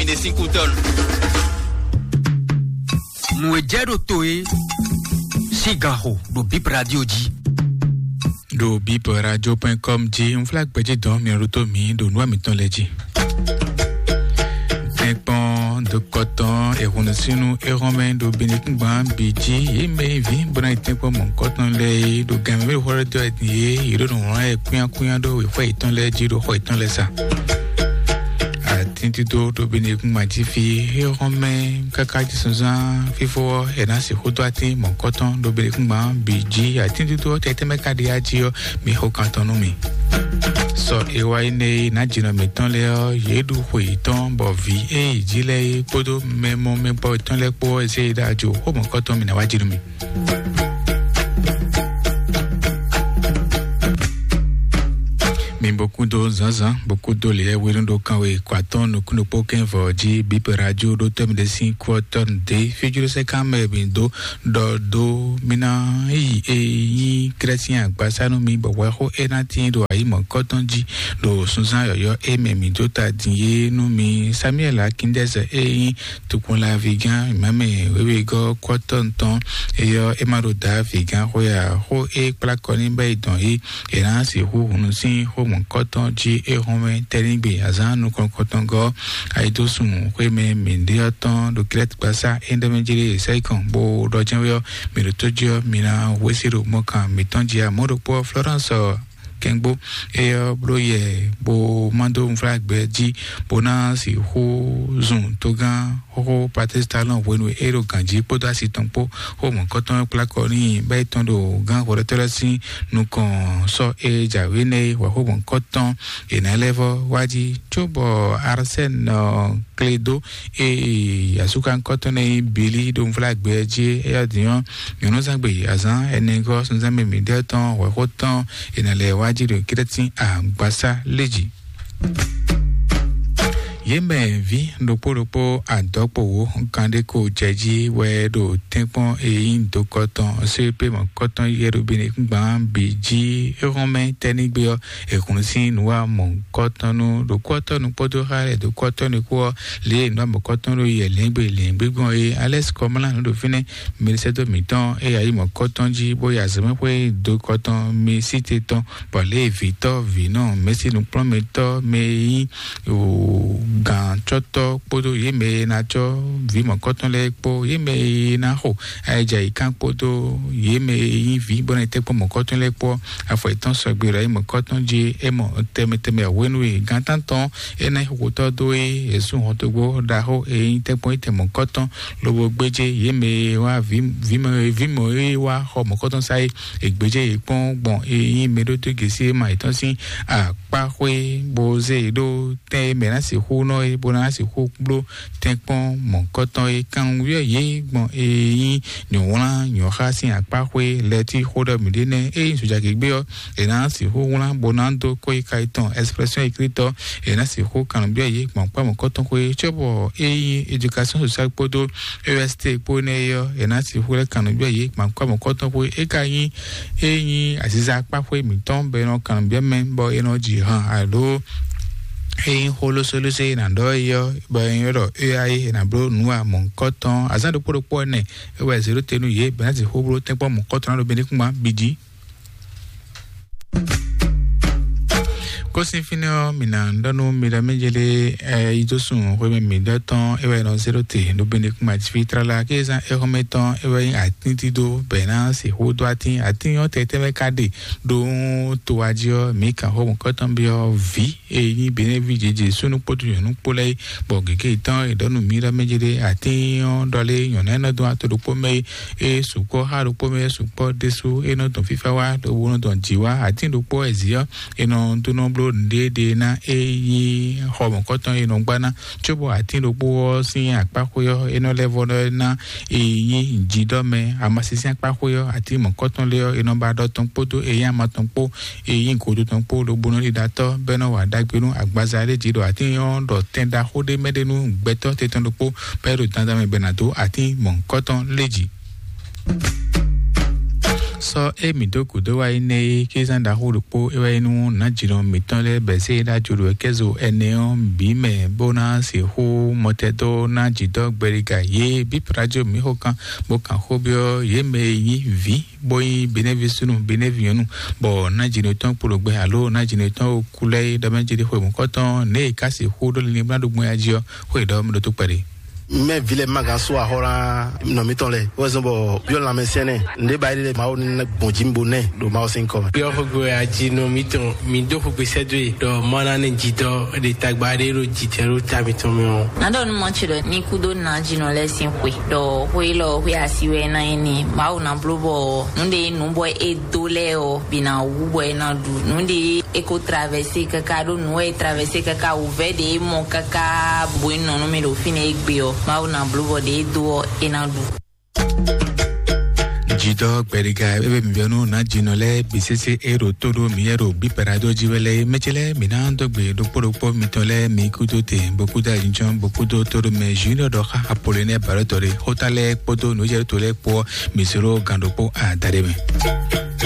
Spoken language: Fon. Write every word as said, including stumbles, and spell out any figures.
Ɖe sín kútɔ́nu. Nǔ e jɛ ɖo to é sín ganxo ɖo Bip Radio jí. Ɖo bip radio point com jí, un flá gbɛjí dɔn mi ɖo tó mi ɖo nǔ mǐtɔn lɛ́ɛ jí. Tɛ́nkpɔ́n dɔkɔtɔn ehunusínu ehɔnmɛ ɖo Benekúngban bǐ jí, yě mɛ e vǐ bó ná yi tɛ́nkpɔ́n mɔ̌hunkɔtɔn lɛ́ɛ é ɖo gan mɛ mɛ ɖo xó ɖɔ dó wɛ din é, yě ɖo nǔ wlán yɛ kúnnyákúnnyá ɖó xwé yětɔn lɛ́ɛ jí ɖo xɔ yětɔn lɛ́ɛ sa. Atín dídó ɖo Benekúngban jí fí, éhɔ́n mɛ káká jí sunzán fífó ɔ́, è nǎ sixú dó atín mɔ̌kɔ́tɔn ɖo Benekúngban bǐ jí. Atín dídó ɔ́ tɛtɛ́ mɛ ka ɖi ají ɔ́, mi xo kan tɔn nú mi. Sɔ e wá yi nɛ e nǎ jǐnɔ mǐtɔn lɛ́ɛ ɔ́, yě ɖu xwe yětɔn bɔ vǐ e yi jí lɛ́ɛ é kpódó mɛ mɔ mɛ bɔ yětɔn lɛ́ɛ kpó ɔ́, è zé yi ɖó ajo xó mɔ̌kɔ́tɔn mi ná wá jí nú mi. Mi bó kúdó zǎnzǎn, bó kúdó lě wénú ɖo kanwe kɔ atɔ́ɔ́n nukúnnú kpó kɛ́n vɔ jí bíbɛ́ radio ɖó tɛ́ mi ɖé sín kú ɔ́ tɔ́ nu dé. Fíjúɖó sɛ́ kán mɛ mi dó ɖɔ dó mi ná yi e nyí Krɛ́sín agbasá nú mi, bɔ hwɛxó é ná tíin ɖo ayǐ mɔ̌kɔ́tɔn jí ɖo sunzán yɔ̌yɔ́ e mɛ mi dó ta din é nú mi. Samuɛ́li Akíndɛ́sɛ e nyí tukun laví gán mǎmɛ wěwegɔ́ kɔ́tɔn tɔn eyɔ́ é ma ɖo Davi gán xwé ǎ. Xó e kplá kɔ ní bɛ́ yi dɔn é, è nǎ sixú hunu sín xó mɔ̌kɔtɔn jí é hɔn mɛ tɛ́nigbe azǎn nukɔn kɔtɔngɔ́ ayidósun xwé mɛ mǐɖéɔ tɔn ɖo Kilɛ́ti gbasá é ɖɔ mɛ jí ɖe sɛ́ yi kɔn bó ɖɔ jɛ́n wé ɔ́, mǐ ɖo tó jí ɔ́, mi ná hwesí ɖo mɔkan mǐtɔn jí ǎ. Mɔ̌ ɖokpó ɔ́, Florence ɔ́, kɛngbó éyɔ́ bló yɛ bó má dó unflágbɛ jí bó ná sixú zun togán xóxó Patrice Talon hwenu e é ɖo gǎnjí kpódó asi tɔn kpó xó mɔ̌kɔtɔn kplá kɔ n'i bɔ é tɔn ɖo gán hwɛɖɔtɔ́ lɛ́ɛ sín nukɔn sɔ́ e jǎwe nɛ́ é hwɛ̌ xó mɔ̌kɔtɔn è nǎ lɛ́ vɔ́ wá jí cóbɔ Arsène Kledo e asúkankɔ́tɔn nɛ́ nyí Bili ɖo unflágbɛ jí é yá din ɔ́, nyɔ̌núzangbe azǎn ɛnɛgɔ́ sunzán mɛ mǐɖɛ́ tɔn hwɛ̌xó tɔn è nǎ lɛ́ wá jí ɖo kɛ́ɖɛ́tín agbasá lé jí. Yě mɛ vǐ ɖokpó ɖokpó adɔ̌kpowǒ kanɖéko jɛ jí wɛ ɖo tɛ́nkpɔ́n e nyí dokɔtɔn C P mɔ̌kɔtɔn yɛɖobinigban bǐ jí é hɔn mɛ tɛ́nigbe ɔ́, è hun sín nǔwamɔ̌kɔtɔn nú ɖokɔ́tɔ́nu kpódó xá lɛ́ɛ dokɔ́tɔ́nu kpó ɔ́, lě e nǔwamɔ̌kɔtɔn ɖo yɛ lɛ̌ngbè lɛ̌ngbè gbɔn é. Alɛ́si Kɔmlá nǔ ɖo fínɛ́, mɛɖisɛ́dó mǐtɔn e yě yi mɔ̌kɔtɔn jí bó yi azɔ̌mɛxwé dokɔtɔn mi sí te tɔn bɔ Lévitɔ́ vǐnɔ mɛ̌si nukplɔ́nmɛtɔ́ mɛ e nyí gǎncɔ́tɔ́ kpódó yě mɛ e ná cɔ́ vǐ mɔ̌kɔtɔn lɛ́ɛ kpó yě mɛ e ná xo ayɛjɛ ayǐkán kpódó yě mɛ e nyí vǐ bó ná yi tɛ́nkpɔ́n mɔ̌kɔtɔn lɛ́ɛ kpó afɔ yětɔn sɔgbe ɖo ayǐ mɔ̌kɔtɔn jí é mɔ tɛnmɛ tɛnmɛ hwenu e gǎntántɔn é ná xotɔ́ dó é yě sú hɔntogbó ɖaxó e nyí tɛ́nkpɔ́n yi tɛn mɔ̌kɔtɔn lobo gbéjé yě mɛ e wá vǐ vǐ mɔ e wá xɔ mɔ̌kɔtɔn sá é. È gbéjé yě kpɔ́n gbɔn e nyí mɛɖótó gěsí e ma yětɔn sín akpáxwé bó zé yě ɖó tɛn e mɛ ná sixú nɔ é bó ná sixú bló tɛ́nkpɔ́n mɔ̌kɔtɔn é. Kanwunwíyɔ yě gbɔn e nyí nyɔ̌wlán nyɔ̌xá sín akpáxwé lɛ́ɛ tí xó ɖɔ mǐ ɖe nɛ́ é nyí zojagěgbé ɔ́, è nǎ sixú wlán bó ná dó kó yi ka yětɔn Expression écrite ɔ́, è nǎ sixú kanwunwíyɔ yě gbɔn kpá mɔ̌kɔtɔn xwé cóbɔ é nyí éducation sociale kpódó E S T kpó nɛ́ é ɔ́, è nǎ sixú lɛ́ kannu byɔ́ yě gbɔn akɔ́mɔkɔ́tɔn xwé é ka nyí é nyí aziza kpá xwé mǐtɔn bɔ è nɔ kannu byɔ́ mɛ bɔ è nɔ ji han alo é nyí xó lósólósó e è nǎ ɖɔ é ɔ́ bɔ è nyí ɖɔ é ɔ́ é è nǎ bló nǔ amɔ̌kɔ́tɔn azǎn ɖokpó ɖokpó ɔ́ nɛ é wɛ zěɖó te nú yě bɔ è nǎ sixú bló tɛ́nkpɔ́ mɔ̌kɔ́tɔn ná ɖo benɛ́kúngban bǐ jí. Kósin fínɛ́ ɔ́, mǐ ná ɖɔ nú mi ɖɔ mɛ jɛ lé ɛ yi dó sun xwémɛ mǐ ɖɔ tɔn é wɛ nɔ zéro te ɖo bene kún ma jí tlala kézan é xɔmɛ tɔn é wɛ nyí atín dídó bɛ̌ ná sixú dó atín atín ɔ́ tɛtɛ́ mɛ ka ɖe ɖó to wá jí ɔ́ mǐ kan xó mɔ̌kɔ́tɔn byɔ́ vǐ e nyí Benɛ́ví jějě súnnu kpódó nyɔ̌nu kpó lɛ́ɛ é, bɔ gěgé yětɔn è ɖɔ nú mǐ ɖɔ mɛ jɛ lé atín ɔ́ ɖɔ lé nyɔ̌ná e nɔ dó ato ɖokpó mɛ é é sukpɔ́ xá ɖokpó mɛ é sukpɔ́ ɖésú é nɔ dɔn fífá wá ɖo wo nɔ dɔn jǐ wá atín ɖokpó wɛ zǐ ɔ́ é nɔ dó nɔ bló nǔɖéɖé ná é nyí xɔ mɔ̌kɔtɔn é nɔ gbá ná cóbɔ atín ɖokpó ɔ́ sín akpáxwé ɔ́ é nɔ lɛ́ vɔ ná é nyí jǐɖɔmɛ amasínsín akpáxwé ɔ́ atín mɔ̌kɔtɔn lé ɔ́ é nɔ ba ɖɔ tɔn kpódó é nyí ama tɔn kpó é nyí godo tɔn kpó lobo nɔ ɖiɖatɔ́ bɔ é nɔ wa ɖagbe nú agbaza ɖé jí ɖo atín ɔ́ ɖɔ tɛn ɖaxó ɖé mɛ ɖé nú gbɛtɔ́ tɛtɔn ɖokpó bɔ é ɖo dandan mɛ bɔ è nǎ dó atín mɔ̌hunkɔtɔn lé jí. Sɔ́ é mǐ dó gǔdo wá yi nɛ́ é, kézán ɖaxó ɖokpó é wá yi nú nǎjínɔ mǐtɔn lɛ́ɛ bɛ̌ zé ɖó ajo ɖo kɛ́zo ɛnɛ ɔ́ bǐ mɛ, bó ná sixú mɔtɛdó ná jǐdɔ́ gbɛɖiga yě bí Prajo mǐ xo kan, bó kan xó byɔ́ yě mɛ e nyí vǐ, bó nyí Benɛ́ví súnnu, Benɛ́ví nyɔ̌nu, bɔ nǎjínɔ tɔn kpo ɖo gbɛ alo nǎjínɔ tɔn kú lɛ́ɛ é ɖɔ mɛ jí ɖé xwe mɔ̌kɔtɔn nɛ̌ è ká sixú ɖó linlin bó ná ɖo gbɔn ya jí ɔ́, xó e ɖɔ mɛ ɖo tó kpɛɖé. Mɛ vi lɛ ma gan so ahɔ la nɔ mitɔn lɛ wɛ zɔn bɔ yɔ lanmɛ sɛnɛ nde ba yi lɛ mawu ni gbɔn ji bo nɛ ɖo mawu sin kɔ. Yɔ xogbe aji nɔ mitɔn mi do xogbe sɛdo ye dɔ mana ne jitɔ de tagba de ɖo jitɛ ɖo ta mitɔn mi o. Nadɔ nu mɔ tsi ɖɔ ni kudo na jinɔ lɛ sin xwe dɔ xwe lɔ xwe asi wɛ na yi ni mawu na blo bɔ nu de nu bɔ e do lɛ o bi na wu bɔ e na ɖu nu de e ko traverse kaka ɖo nu e traverse kaka wuvɛ de e mɔ kaka bo e nɔ nu mi ɖo fi ne e gbe ɔ mawu na blo bɔ de e do ɔ e na ɖu. Jidɔ gbɛɖiga ebe mi bɛnu na jinɔ lɛ bisese e ɖo to ɖo mi yɛ ɖo bi pɛrado ji wɛ lɛ mɛtsɛ lɛ mi na dɔ gbe ɖokpó ɖokpó mitɔn lɛ mi kudo te bokudo ajijɔn bokudo to ɖo mɛ junior dɔ xa apolonɛ balɔtɔ ɖe xota lɛ kpódó nujɛ to lɛ kpó mi soro gan ɖokpó adaɖe mɛ.